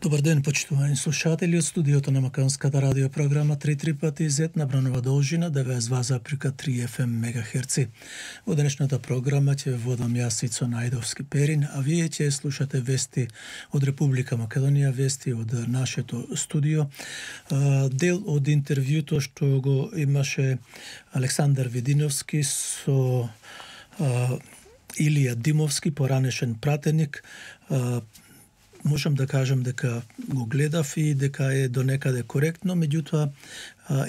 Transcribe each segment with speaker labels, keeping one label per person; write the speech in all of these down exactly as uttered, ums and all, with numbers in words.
Speaker 1: Добар ден, почитувани слушатели од студиото на Македонската радио програма три три пати зет на бранова должина деветдесет и два запирка три еф ем мегахерци. Во денешната програма ќе водам јас Ицо Најдовски Перин, а вие ќе слушате вести од Република Македонија, вести од нашето студио. Дел од интервјуто што го имаше Александар Видиновски со Илија Димовски, поранешен пратеник. Можам да кажам дека го гледав и дека е до некаде коректно, меѓутоа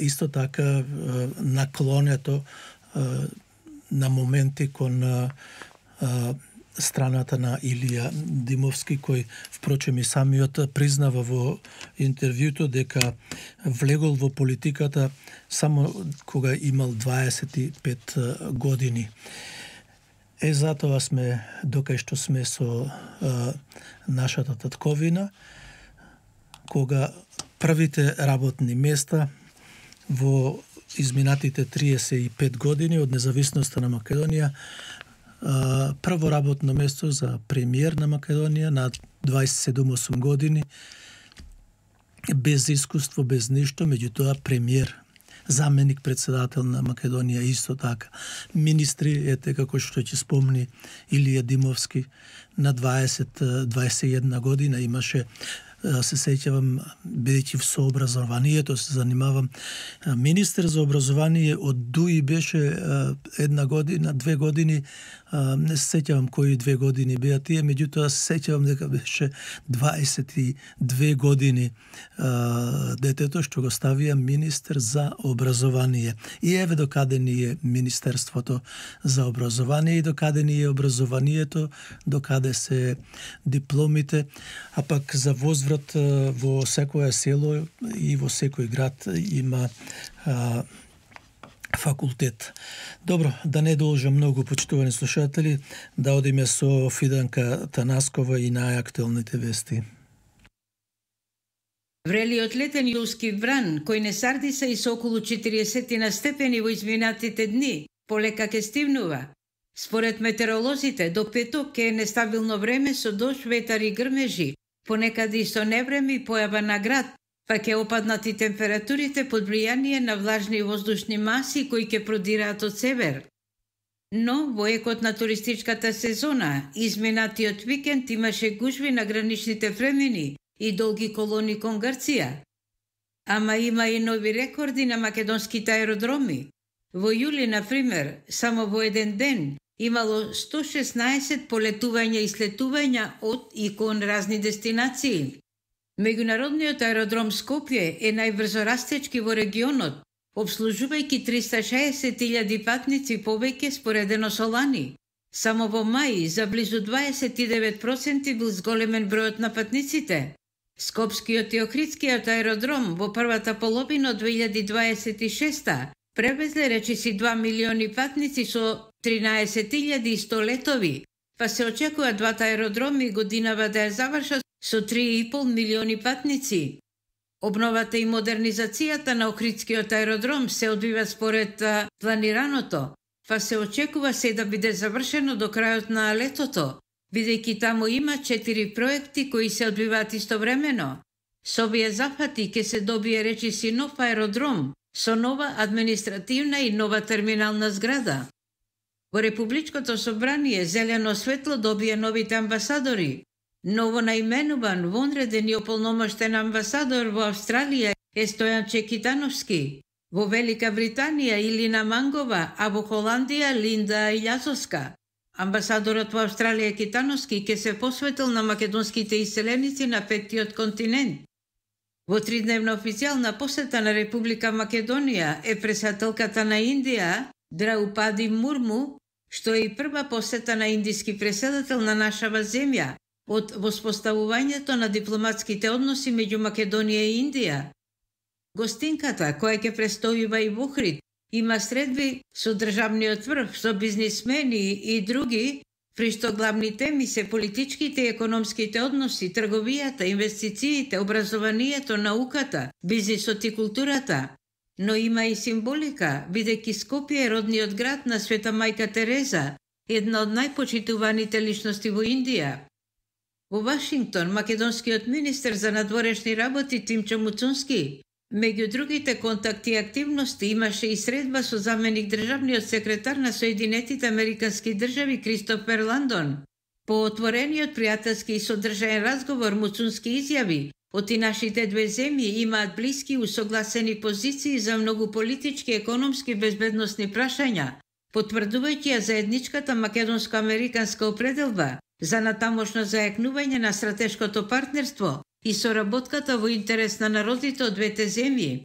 Speaker 1: исто така наклонето на моменти кон страната на Илија Димовски, кој впрочем и самиот признава во интервјуто дека влегол во политиката само кога имал дваесет и пет години. Е, затоа сме докај што сме со а, нашата татковина, кога првите работни места во изминатите триесет и пет години од независноста на Македонија, а, прво работно место за премиер на Македонија на дваесет и седум години, без искуство, без ништо, меѓутоа премиер, заменик председател на Македонија исто така. Министри, ете како што ќе спомни Илија Димовски, на дваесет дваесет и една година имаше, се сеќавам, бидејќи со образованието се занимавам, министер за образование од ДУИ беше една година, две години, не се сеќавам кои две години беа тие, меѓутоа се сеќавам дека беше дваесет и две години детето што го ставија министер за образование. И еве докаде ни е Министерството за образование и докаде ни е образованието, докаде се дипломите, а пак за возврат во секое село и во секој град има а, факултет. Добро, да не должам многу, почитувани слушатели, да одиме со Фиданка Танаскова и најактуелните вести.
Speaker 2: Врелиот летен јулски вран, кој не сардиса и со околу четириесет на степени во изминатите дни, полека ке стивнува. Според метеоролозите, до петок ке е нестабилно време со дожд, ветар и грмежи, понекаде и со невреме и појава на град, па ќе опаднат и температурите под влијание на влажни воздушни маси кои ќе продираат од север. Но во екот на туристичката сезона, изминатиот викенд имаше гужви на граничните премини и долги колони кон Грција. Ама има и нови рекорди на македонските аеродроми. Во јули, например, само во еден ден имало сто шеснаесет полетувања и слетувања од и кон разни дестинации. Меѓународниот аеродром Скопје е најбрзо растечки во регионот, обслужувајќи триста и шеесет илјади патници повеќе споредено со лани. Само во мај за близу дваесет и девет проценти бил зголемен бројот на патниците. Скопскиот и Охридскиот аеродром во првата половина од две илјади дваесет и шеста превезле речиси два милиони патници со тринаесет илјади и сто летови, па се очекува двата аеродроми годинава да ја завршат со три и пол милиони патници. Обновата и модернизацијата на Охридскиот аеродром се одвива според планираното, па се очекува се да биде завршено до крајот на летото, бидејќи таму има четири проекти кои се одвиваат истовремено. Со овие зафати ќе се добие речиси нов аеродром, со нова административна и нова терминална зграда. Во Републичкото собрание зелено светло добија новите амбасадори. Ново наименуван вонреден и ополномоштен амбасадор во Австралија е Стојан Чекитановски, во Велика Британија Илина Мангова, а во Холандија Линда Илјазовска. Амбасадорот во Австралија Китановски ќе се посветил на македонските иселеници на петтиот континент. Во тридневна официјална посета на Република Македонија е претседателката на Индија Драупади Мурму, што е и прва посета на индиски претседател на нашава земја од воспоставувањето на дипломатските односи меѓу Македонија и Индија. Гостинката, која ќе престојува и во Охрид, има средби со државниот врв, со бизнисмени и други, при што главни теми се политичките и економските односи, трговијата, инвестициите, образованието, науката, бизнисот и културата. Но има и символика, бидејќи Скопје е родниот град на Света Мајка Тереза, една од најпочитуваните личности во Индија. Во Вашингтон, македонскиот министер за надворешни работи Тимчо Муцунски, меѓу другите контакти и активности, имаше и средба со заменик државниот секретар на Соединетите Американски држави Кристофер Ландон. По отворениот пријателски и содржаен разговор Муцунски изјави: оти нашите две земји имаат блиски и усогласени позиции за многу политички, економски, безбедносни прашања, потврдувајќи ја заедничката македонско-американска определба за натамошно зајакнување на стратешкото партнерство и соработката во интерес на народите од двете земји.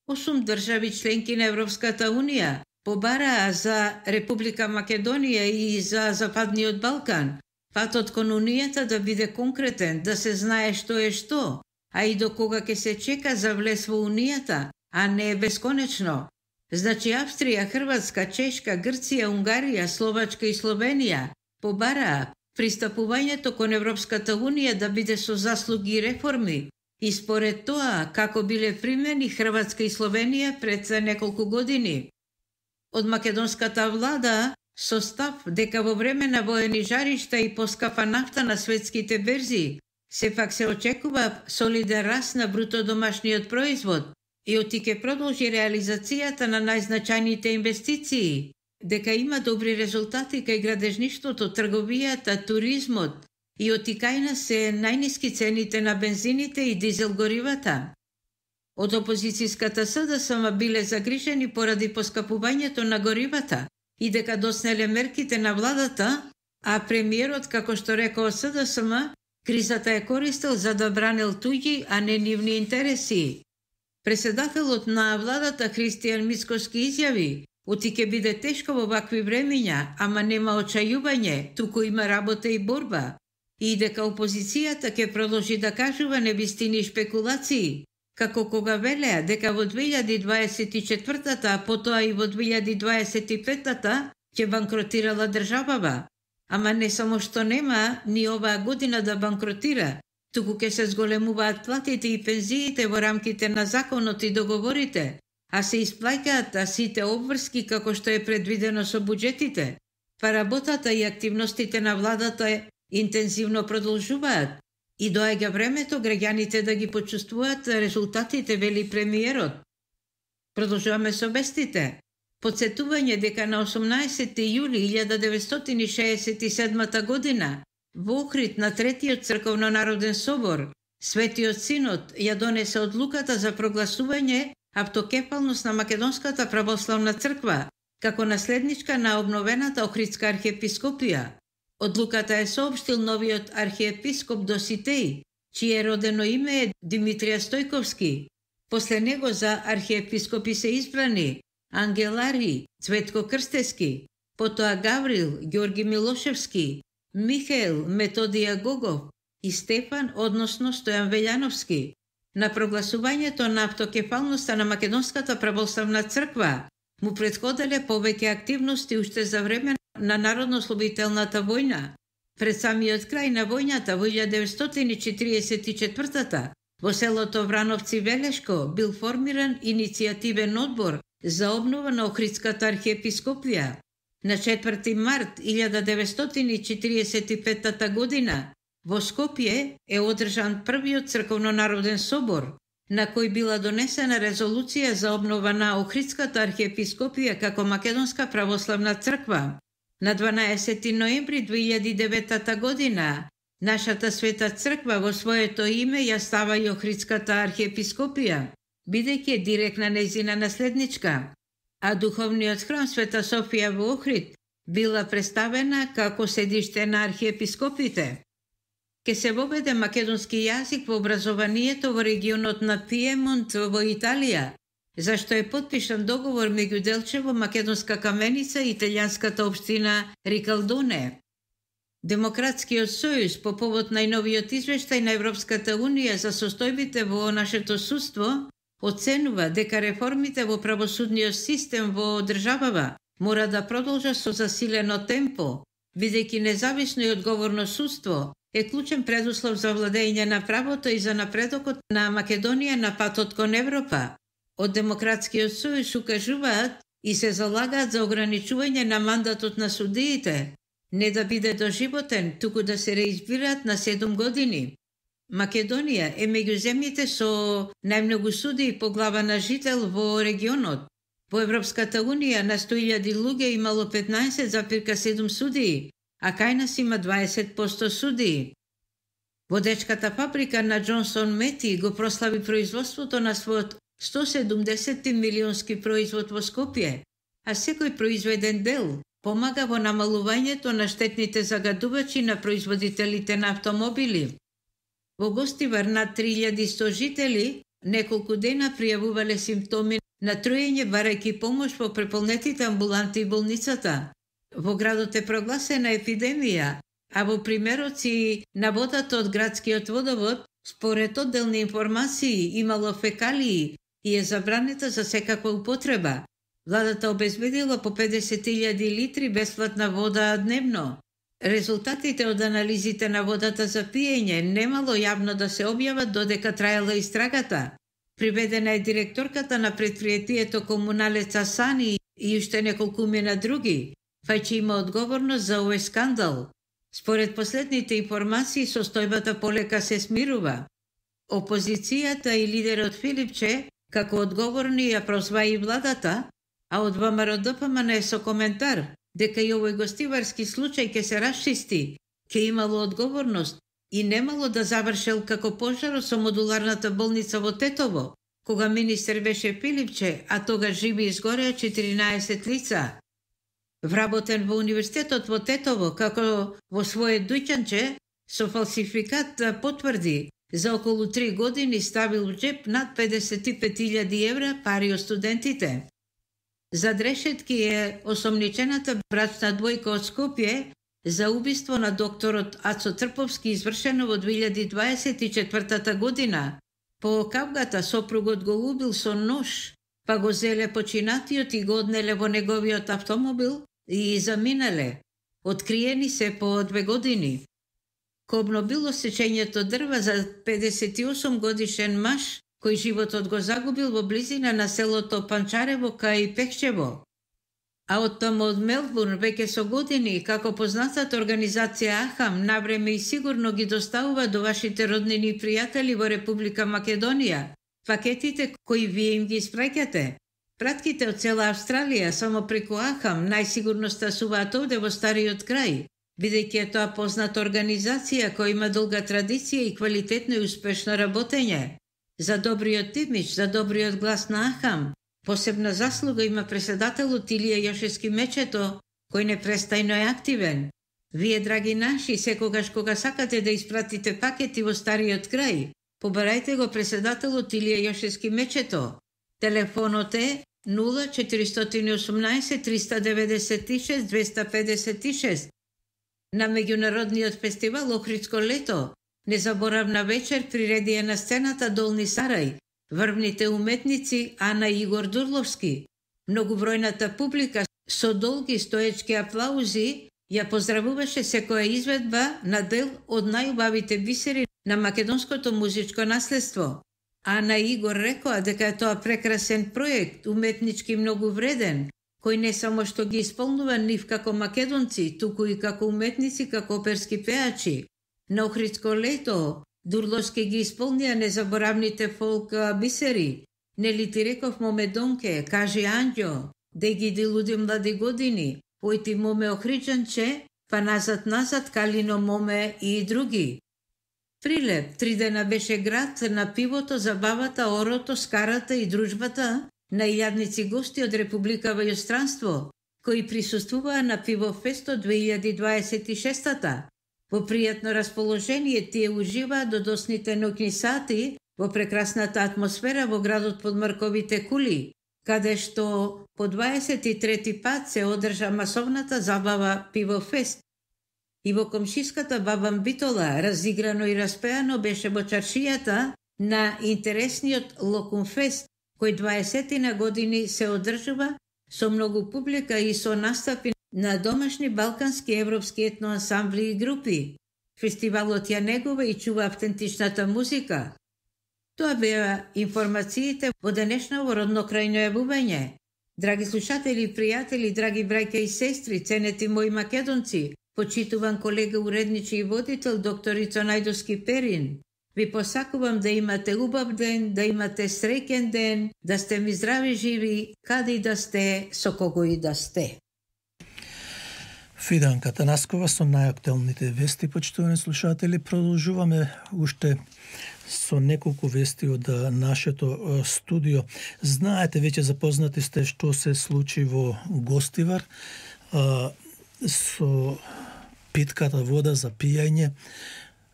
Speaker 2: Осум држави членки на Европската Унија побараа за Република Македонија и за Западниот Балкан патот кон Унијата да биде конкретен, да се знае што е што, а и до кога ќе се чека за влез во Унијата, а не е бесконечно. Значи Австрија, Хрватска, Чешка, Грција, Унгарија, Словачка и Словенија побараа пристапувањето кон Европската Унија да биде со заслуги и реформи, и според тоа како биле примени Хрватска и Словенија пред неколку години. Од македонската влада со став дека во време на воени жаришта и поскапа нафта на светските берзи, сепак се очекува солиден раст на бруто домашниот производ и оти ќе продолжи реализацијата на најзначајните инвестиции, дека има добри резултати кај градежништвото, трговијата, туризмот и оти кај нас се најниски цените на бензините и дизел горивата. Од опозицијската СДСМ биле загрижени поради поскапувањето на горивата и дека доснеле мерките на владата, а премиерот, како што рекол СДСМ, кризата е користел за да бранел туѓи, а не нивни интереси. Председателот на владата Христијан Мицкоски изјави: оти ќе биде тешко во вакви времења, ама нема очајување, туку има работа и борба. И дека опозицијата ќе продолжи да кажува невистини и шпекулации, како кога велеа дека во две илјади дваесет и четвртата, а потоа и во две илјади дваесет и петата ќе банкротирала државава. Ама не само што нема ни оваа година да банкротира, туку ќе се зголемуваат платите и пензиите во рамките на законот и договорите, а се исплаќаат сите обврски како што е предвидено со буџетите, па работата и активностите на владата интензивно продолжуваат и доаѓа времето граѓаните да ги почувствуваат резултатите, вели премиерот. Продолжуваме со вестите. Подсетување дека на осумнаесети јули илјада деветстотини и шеесет и седмата година во Охрид на Третиот црковно-народен собор Светиот Синод ја донесе одлуката за прогласување автокефалност на Македонската православна црква како наследничка на обновената Охридска архиепископија. Одлуката е соопштил новиот архиепископ Доситеј, чие родено име е Димитрија Стојковски. После него за архиепископи се избрани Ангелари Цветко Крстески, потоа Гаврил Ѓорги Милошевски, Михаел Методија Гогов и Стефан, односно Стојан Велјановски. На прогласувањето на автокефалноста на Македонската православна црква му претходеле повеќе активности уште за време на Народно-ослободителната војна. Пред самиот крај на војната во илјада деветстотини четириесет и четвртата во селото Врановци Велешко бил формиран иницијативен одбор за обнова на Охридската архиепископија. На четврти март илјада деветстотини четириесет и петата година во Скопје е одржан првиот црковно-народен собор, на кој била донесена резолуција за обнова на Охридската архиепископија како Македонска православна црква. На дванаесети ноември две илјади и девета година нашата света црква во своето име ја става и Охридската архиепископија, бидејќи е директна нејзина наследничка, а духовниот храм Света Софија во Охрид била представена како седиште на архиепископите. Ке се воведе македонски јазик во образованието во регионот на Пиемонт во Италија, зашто е подпишан договор меѓу Делчево, Македонска Каменица и италијанската општина Рикалдоне. Демократскиот сојуз по повод најновиот извештај на Европската Унија за состојбите во нашето судство оценува дека реформите во правосудниот систем во државава мора да продолжат со засилено темпо, бидејќи независно и одговорно судство е клучен предуслов за владење на правото и за напредокот на Македонија на патот кон Европа. Од Демократскиот сојуз укажуваат и се залагаат за ограничување на мандатот на судиите, не да биде доживотен, туку да се реизбираат на седум години. Македонија е меѓу земјите со најмногу судии по глава на жител во регионот. Во Европската унија на сто илјади луѓе имало петнаесет запирка седум судии, а кај нас има дваесет проценти судии. Водечката фабрика на Джонсон Мети го прослави производството на својот сто седумдесет милионски производ во Скопје, а секој произведен дел помага во намалувањето на штетните загадувачи на производителите на автомобили. Во Гостивар над три илјади и сто жители неколку дена пријавувале симптоми на труење барајќи помош во преполнетите амбуланти и болницата. Во градот е прогласена епидемија, а во примероци на водата од градскиот водовод, според одделни информации, имало фекалии и е забранета за секаква употреба. Владата обезбедила по педесет илјади литри бесплатна вода дневно. Резултатите од анализите на водата за пиење немало јавно да се објават додека траела истрагата. Приведена е директорката на предпријатието Комуналец Асани и уште неколку мина други, фајче има одговорност за овој скандал. Според последните информации, состојбата полека се смирува. Опозицијата и лидерот Филипче, како одговорни, ја прозваи и владата, а од ВМРО-ДПМН е со коментар дека и овој гостиварски случај ќе се расчисти, ќе имало одговорност и немало да завршел како пожарот со модуларната болница во Тетово, кога министер беше Филипче, а тогаш живи изгореа четиринаесет лица. Вработен во универзитетот во Тетово, како во своје дуќанче, со фалсификат потврди за околу три години ставил в джеп над педесет и пет илјади евра пари од студентите. Зад решетки е осомничената брачна двојка од Скопје за убиство на докторот Ацо Трповски извршено во две илјади дваесет и четвртата година. По кавгата сопругот го убил со нож, па го зеле починатиот и го однеле во неговиот автомобил и заминале. Откриени се по две години. Кобно било сечењето дрва за педесет и осум годишен маж, кој животот го загубил во близина на селото Панчарево кај Пехчево. А од таму од Мелбурн веќе со години, како познатата организација Ахам, навреме и сигурно ги доставува до вашите роднини и пријатели во Република Македонија пакетите кои вие им ги испраќате. Пратките од цела Австралија само преку Ахам најсигурно стасуваат овде во стариот крај, бидејќи е тоа позната организација која има долга традиција и квалитетно и успешно работење. За добриот имидж, за добриот глас на Ахам, посебна заслуга има преседателот Илија Јошевски Мечето, кој непрестајно е активен. Вие, драги наши, секогаш кога сакате да испратите пакети во стариот крај, побарајте го преседателот Илија Јошевски Мечето. Телефонот е нула четиристотини и осумнаесет триста деветдесет и шест двеста педесет и шест. На меѓународниот фестивал Охридско лето, незаборавна вечер приредија на сцената Долни Сарај, врвните уметници Ана и Игор Дурловски. Многобројната публика со долги стоечки аплаузи ја поздравуваше секоја изведба на дел од најубавите бисери на македонското музичко наследство. Ана и Игор рекоа дека е тоа прекрасен проект, уметнички многу вреден, кој не само што ги исполнува нив како македонци, туку и како уметници, како оперски пеачи. На Охридско лето Дурловски ги исполнија незаборавните фолк бисери. Нели ти реков моме Донке, кажи Анѓо, де ги дилуди млади години, појти моме Охриджанче, па назад-назад Калино моме и други. Прилеп, три дена беше град на пивото, забавата, орото, скарата и дружбата на илјадници гости од Република во иностранство, кои присуствуваа на Пивофесто две илјади дваесет и шеста. Во пријатно расположение тие уживаат до досните ноќни сати во прекрасната атмосфера во градот под мрковите кули, каде што по дваесет и трети пат се одржа масовната забава Пивофест. И во комшиската Бабан Битола, разиграно и распеано беше во чаршијата на интересниот Локумфест, кој дваесетина години се одржува со многу публика и со настапи на домашни балкански европски етноансамбли и групи. Фестивалот ја негува и чува автентичната музика. Тоа беа информациите во денешново родно крајно јавување. Драги слушатели и пријатели, драги браќа и сестри, ценети мои македонци, Почитуван колега уредничи и водител докторица Најдовски Перин, ви посакувам да имате убав ден, да имате среќен ден, да сте ми здрави живи, каде и да сте, со кого и да сте.
Speaker 1: Фиданка Танаскова со најактуелните вести, почитувани слушатели. Продолжуваме уште со неколку вести од нашето студио. Знаете, веќе запознати сте што се случи во Гостивар со питката вода за пијање,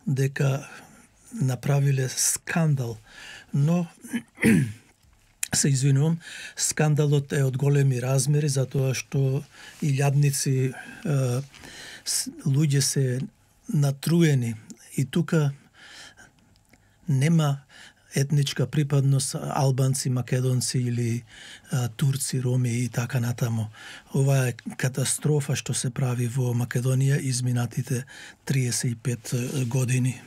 Speaker 1: дека направиле скандал, но се извинувам, скандалот е од големи размери затоа што илјадници луѓе се натруени и тука нема етничка припадност, албанци, македонци или а, турци, роми и така натаму. Ова е катастрофа што се прави во Македонија изминатите триесет и пет години.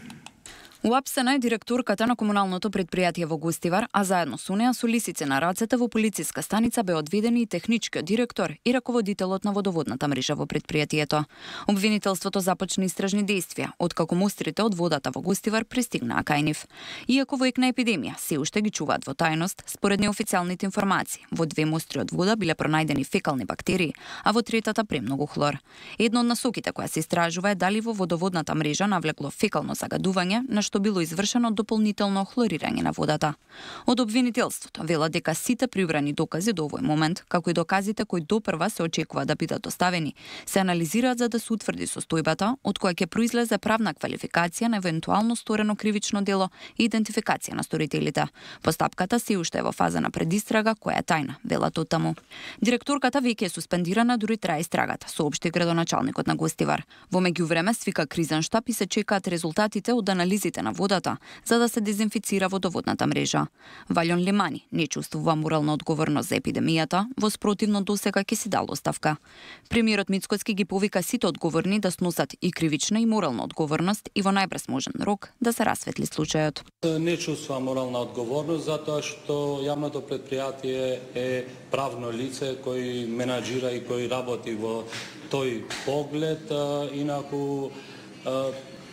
Speaker 3: Уапсена е директорката на комуналното предпријатие во Гостивар, а заедно со неа со лисице на рацете во полициска станица бе одведени и техничкиот директор и раководителот на водоводната мрежа во предпријатието. Обвинителството започна истражни действија, откако мустрите од водата во Гостивар пристигнаа кај нив. Иако во ек на епидемија се уште ги чуваат во тајност, според неофицијалните информации, во две мустри од вода биле пронајдени фекални бактерии, а во третата премногу хлор. Една од насоките која се истражува е дали во водоводната мрежа навлекло фекално загадување, на што било извршено дополнително хлорирање на водата. Од обвинителството велат дека сите прибрани докази до овој момент, како и доказите кои допрва се очекува да бидат доставени, се анализираат за да се утврди состојбата од која ќе произлезе правна квалификација на евентуално сторено кривично дело и идентификација на сторителите. Постапката се уште е во фаза на предистрага која е тајна, велат оттаму. Директорката веќе е суспендирана, дури трае истрагата, соопшти градоначалникот на Гостивар. Во меѓувреме свика кризен штаб и се чекаат резултатите од анализите на водата за да се дезинфицира водоводната мрежа. Валјон Лимани не чувствува морална одговорност за епидемијата, во спротивно досега ќе си дал оставка. Премиерот Мицкоски ги повика сите одговорни да сносат и кривична и морална одговорност и во најбрз можен рок да се расветли случајот.
Speaker 4: Не чувствувам морална одговорност затоа што јавното предпријатие е правно лице кој менаџира и кој работи во тој поглед, инаку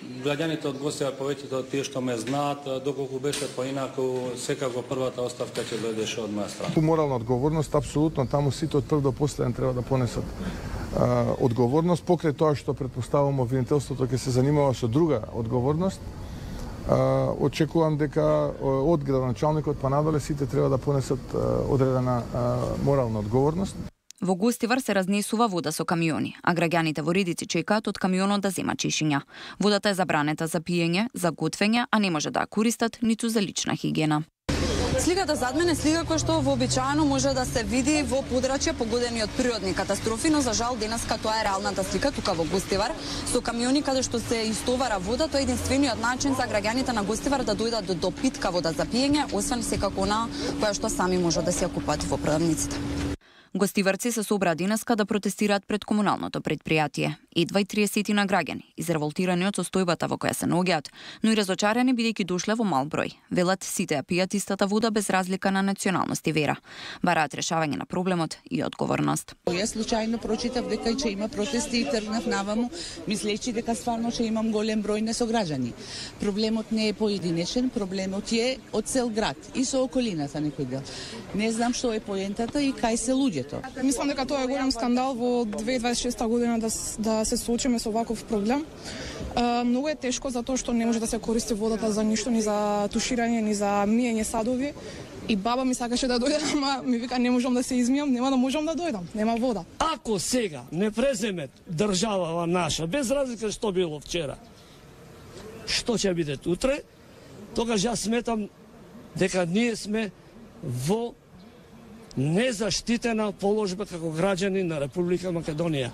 Speaker 4: граѓаните од Гостивар, повеќето од тие што ме знаат, доколку беше поинаку, секако првата оставка ќе дојдеше од моја страна.
Speaker 5: Морална одговорност, апсолутно, таму сите од прв до последен треба да понесат а, одговорност, покрај тоа што предпоставувам обвинителството ќе се занимава со друга одговорност. А, очекувам дека од градоначалникот па надоле сите треба да понесат а, одредена а, морална одговорност.
Speaker 3: Во Гостивар се разнесува вода со камиони, а граѓаните во редици чекаат од камионот да зема чешиња. Водата е забранета за пиење, за готвење, а не може да ја користат ниту за лична хигиена.
Speaker 6: Сликата зад мене е слика која што вообичаено може да се види во подрачја погодени од природни катастрофи, но за жал денеска тоа е реалната слика тука во Гостивар со камиони каде што се истовара вода. Тоа е единствениот начин за граѓаните на Гостивар да дојдат до, до питка вода за пиење, освен секако она која што сами може да се ја купат во продавниците.
Speaker 3: Гостиварци се собраа денеска да протестираат пред комуналното предпријатие. Едва и триесет на граѓани, изреволтирани од состојбата во која се наоѓаат, но и разочарени бидејќи дошле во мал број. Велат сите ја пијат истата вода без разлика на националност и вера. Бараат решавање на проблемот и одговорност.
Speaker 7: Јас случајно прочитав дека ќе има протести и тргнав наваму, мислејќи дека стварно ќе имам голем број на сограѓани. Проблемот не е поединечен, проблемот е од цел град и со околината некој дел. Не знам што е поентата и кај се луѓето.
Speaker 8: Мислам дека тоа е голем скандал во две илјади дваесет и шеста година да, да се соочиме со ваков проблем. Uh, многу е тешко затоа што не може да се користи водата за ништо, ни за туширање, ни за миење садови. И баба ми сакаше да дојде, ама ми вика не можам да се измијам, нема да можам да дојдам, нема вода.
Speaker 9: Ако сега не преземе државава наша, без разлика што било вчера, што ќе биде утре, тогаш јас сметам дека ние сме во незаштитена положба како граѓани на Република Македонија.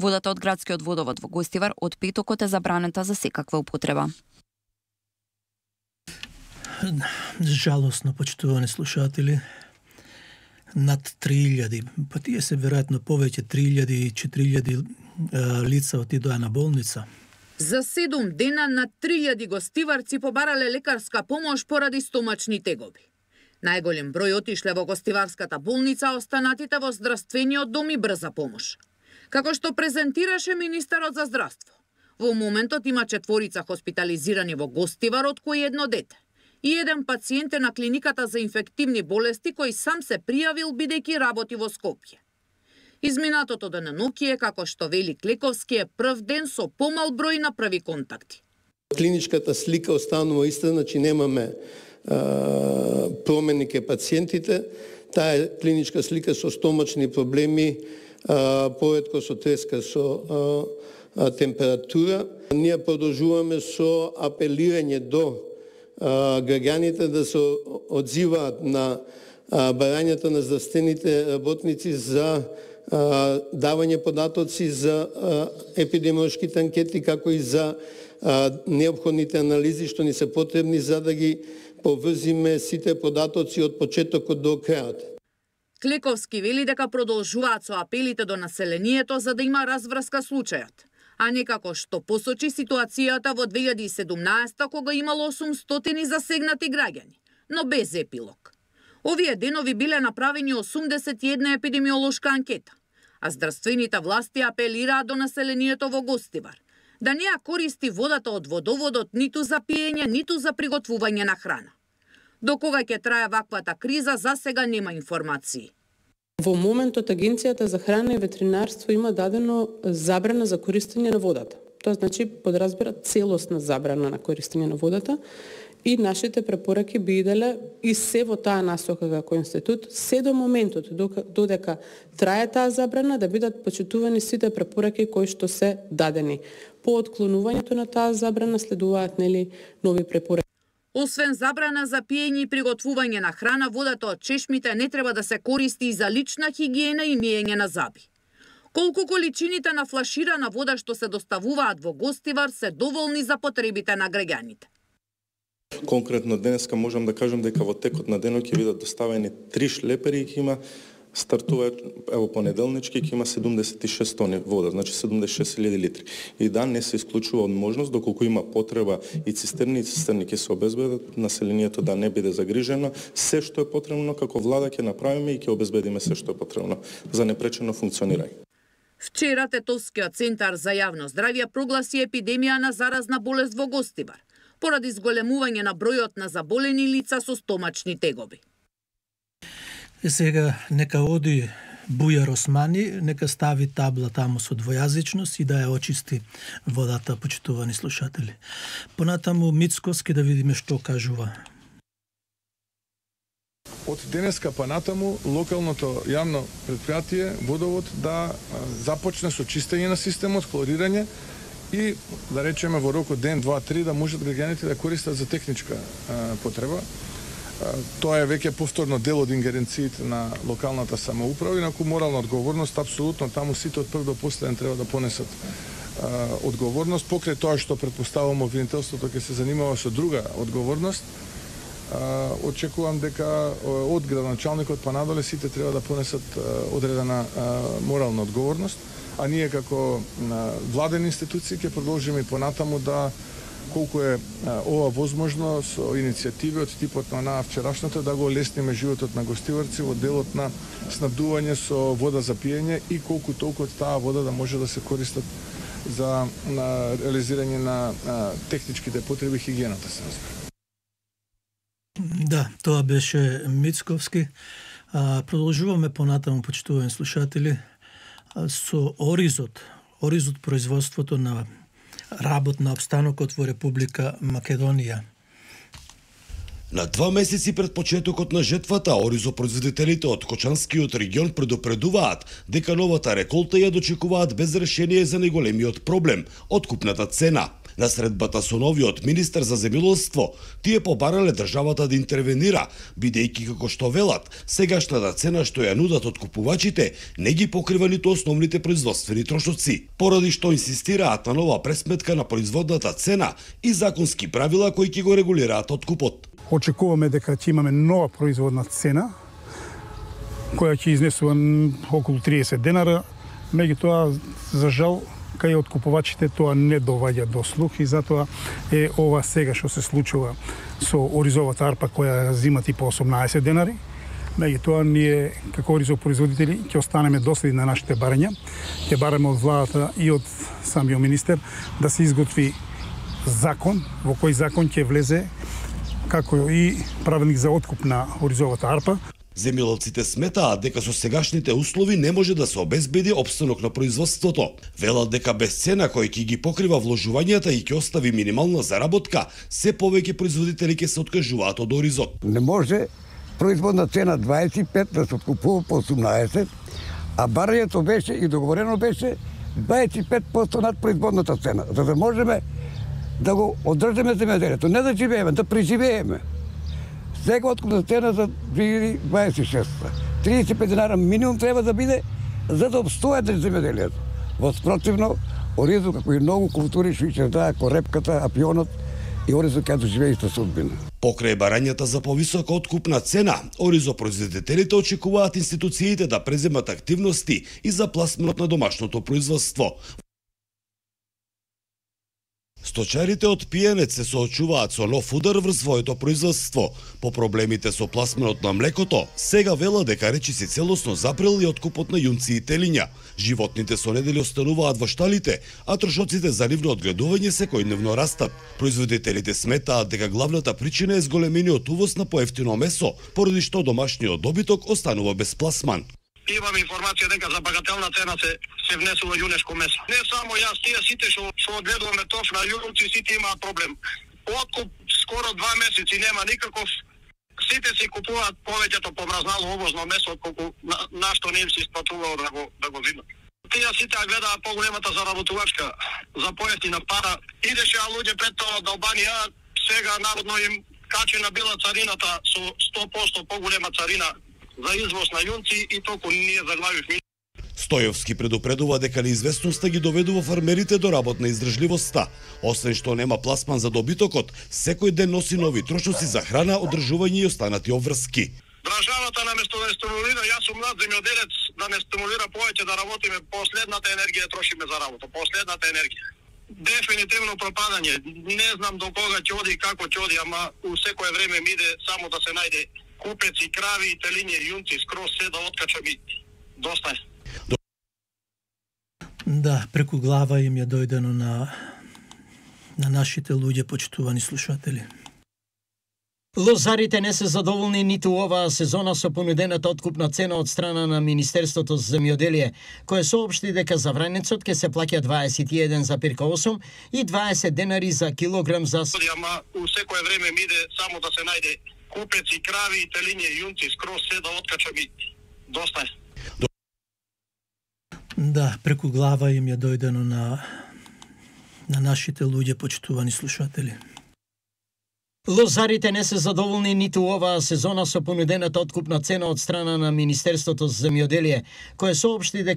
Speaker 3: Водата од градскиот водовод во Гостивар од петокот е забранета за секаква употреба.
Speaker 1: Жалосно, почитувани слушатели, над три илјади, па тие се веројатно повеќе три илјади и четири илјади лица отидоа на болница.
Speaker 10: За седум дена над три илјади гостиварци побарале лекарска помош поради стомачни тегоби. Најголем број отишле во Гостиварската болница, останатите во здравствениот дом и брза помош. Како што презентираше министерот за здравство, во моментот има четворица хоспитализирани во Гостивар, од кои едно дете. И еден пациент е на клиниката за инфективни болести кој сам се пријавил бидејќи работи во Скопје. Изминатото денонокие, како што вели Клековски, е прв ден со помал број на први контакти.
Speaker 11: Клиничката слика останува иста, значи немаме а, промени ке пациентите. Таа е клиничка слика со стомачни проблеми, а, поредко со треска со а, а, температура. Ние продолжуваме со апелирање до а, граѓаните да се одзиваат на а, барањата на здравствените работници за а, давање податоци за а, епидемиолошките анкети, како и за а, необходните анализи што ни се потребни за да ги поврзиме сите податоци од почетокот до крајот.
Speaker 10: Клековски вели дека продолжуваат со апелите до населението за да има разврска случајот, а не како што посочи ситуацијата во две илјади и седумнаесета кога имало осумстотини засегнати граѓани, но без епилог. Овие денови биле направени осумдесет и една епидемиолошка анкета, а здравствените власти апелираат до населението во Гостивар да не ја користи водата од водоводот ниту за пиење, ниту за приготвување на храна. До кога ќе трае ваквата криза, за сега нема информации.
Speaker 12: Во моментот Агенцијата за храна и ветеринарство има дадено забрана за користење на водата. Тоа значи подразбира целосна забрана на користење на водата и нашите препораки би иделе и се во таа насока како институт, се до моментот додека трае таа забрана да бидат почитувани сите препораки кои што се дадени. По отклонувањето на таа забрана следуваат нели нови препораки.
Speaker 10: Освен забрана за пиење и приготвување на храна, водата од чешмите не треба да се користи и за лична хигиена и миење на зъби. Колку количините на флаширана вода што се доставуваат во Гостивар се доволни за потребите на граѓаните?
Speaker 13: Конкретно денеска можам да кажам дека во текот на денот ќе бидат доставени три шлепери и ќе има стартува ево понеделнички ќе има седумдесет и шест тони вода, значи седумдесет и шест илјади литри. И да не се исклучува од можност доколку има потреба и цистерни и цистерни ќе се обезбедат, населението да не биде загрижено, се што е потребно како влада ќе направиме и ќе обезбедиме се што е потребно за непречено функционирање.
Speaker 10: Вчера Тетовскиот центар за јавно здравје прогласи епидемија на заразна болест во Гостивар поради зголемување на бројот на заболени лица со стомачни тегоби.
Speaker 1: И сега нека оди Бујар Османи, нека стави табла таму со двојазичност и да ја очисти водата, почитувани слушатели. Понатаму Мицковски да видиме што кажува.
Speaker 5: Од денеска па натаму локалното јавно предпријатие Водовод да започне со чистење на системот, хлорирање и да речеме во рокот ден, два, три да можат граѓаните да користат за техничка а, потреба. А, тоа е веќе повторно дел од ингеренциите на локалната самоуправа, инаку морална одговорност апсолутно таму сите од прв до последен треба да понесат а, одговорност. Покрај тоа што претпоставувам обвинителството ќе се занимава со друга одговорност, а, очекувам дека од градоначалникот па надоле сите треба да понесат а, одредена а, морална одговорност. А ние како владени институции ќе продолжиме и понатаму да колку е ова возможно со иницијативи од типот на вчерашната да го олесниме животот на гостиварци во делот на снабдување со вода за пиење и колку толку од таа вода да може да се користат за на реализирање на, на техничките потреби хигиената се разбира.
Speaker 1: Да, тоа беше Мицковски. А, продолжуваме понатаму, почитувани слушатели, со Оризот, Оризот производството на работ на обстанокот во Република Македонија.
Speaker 14: На два месеци пред почетокот на жетвата, оризопроизводителите од Кочанскиот регион предупредуваат дека новата реколта ја дочекуваат без решение за најголемиот проблем – откупната цена. На средбата со новиот министер за земјоделство, тие побарале државата да интервенира, бидејќи како што велат, сегашната цена што ја нудат откупувачите не ги покрива ниту основните производствени трошоци, поради што инсистираат на нова пресметка на производната цена и законски правила кои ќе го регулираат откупот.
Speaker 15: Очекуваме дека ќе имаме нова производна цена, која ќе изнесува околу триесет денара, меѓутоа, за жал, кај откупувачите тоа не доваѓа до слух и затоа е ова сега што се случува со оризовата арпа која зима типа осумнаесет денари, Меѓутоа, ние како оризопроизводители ќе останеме доследни на нашите барања. Ќе бараме од владата и од самиот министер да се изготви закон, во кој закон ќе влезе како и правилник за откуп на оризовата арпа.
Speaker 14: Земјоделците сметаат дека со сегашните услови не може да се обезбеди опстанок на производството. Велат дека без цена кој ќе ги покрива вложувањата и ќе остави минимална заработка, се повеќе производители ќе се откажуваат од оризот.
Speaker 16: Не може производна цена дваесет и пет да се откупува по осумнаесет, а барањето беше и договорено беше дваесет и пет проценти над производната цена, за да можеме да го одржиме земјоделието, не да живееме, да преживееме. Сега откупна цена за две илјади дваесет и шеста. триесет и пет динара минимум треба да биде за да обстојате земјоделието. Во спротивно, оризо како и многу култури што ќе даа корепката, апионот и оризо ќе доживее иста судбина.
Speaker 14: Покрај барањата за повисока откупна цена, оризопроизводителите очекуваат институциите да преземат активности и за пласманот на домашното производство. Сточарите од Пијанец се соочуваат со нов удар врз своето производство. По проблемите со пласманот на млекото, сега вела дека речиси целосно запрел и откупот на јунци и телиња. Животните со недели остануваат во шталите, а трошоците за нивно одгледување секојдневно растат. Производителите сметаат дека главната причина е зголемениот увоз на поевтино месо, поради што домашниот добиток останува без пласман.
Speaker 17: Имаме информација дека за багателна цена се се внесува јунешко месо. Не само јас, тие сите што што одгледуваме тоф на јунци, сите имаат проблем. Откуп скоро два месеци нема никаков. Сите си купуваат повеќето помразнало овозно месо колку на, на што не им се исплатувало да го да го видат. Тие сите гледаат поголемата заработувачка за поевтина пара. Идеше луѓе пред тоа од Албанија, сега народно им качена била царината со сто проценти поголема царина за извоз на јунци и толку ние заглавивме.
Speaker 14: Стојовски предупредува дека неизвестноста ги доведува фармерите до работна издржливоста. Освен што нема пласман за добитокот, секој ден носи нови трошоци за храна, одржување и останати обврски.
Speaker 17: Државата наместо да не стимулира, јас сум млад земјоделец, да не стимулира повеќе да работиме, последната енергија трошиме за работа, последната енергија. Дефинитивно пропадање. Не знам до кога ќе оди и како ќе оди, ама у секое време ми иде само да се најде купеци, крави, телиња, јунци, скроз се да откачам и доста е.
Speaker 1: Да, преку глава им е дојдено на на нашите луѓе, почитувани слушатели.
Speaker 18: Лозарите не се задоволни ниту оваа сезона со понудената откупна цена од страна на Министерството за земјоделие, кое соопшти дека за вранецот ќе се плаќа дваесет и еден запирка осум и дваесет денари за килограм за...
Speaker 17: Ама у секое време ми иде само да се најде купеци, крави, телиња, јунци, скроз се да откачам и доста е.
Speaker 1: Да, преку глава им е дојдено на на нашите луѓе, почитувани слушатели.
Speaker 18: Лозарите не се задоволни ниту оваа сезона со понудената откупна цена од страна на Министерството за земјоделие, кое соопшти дека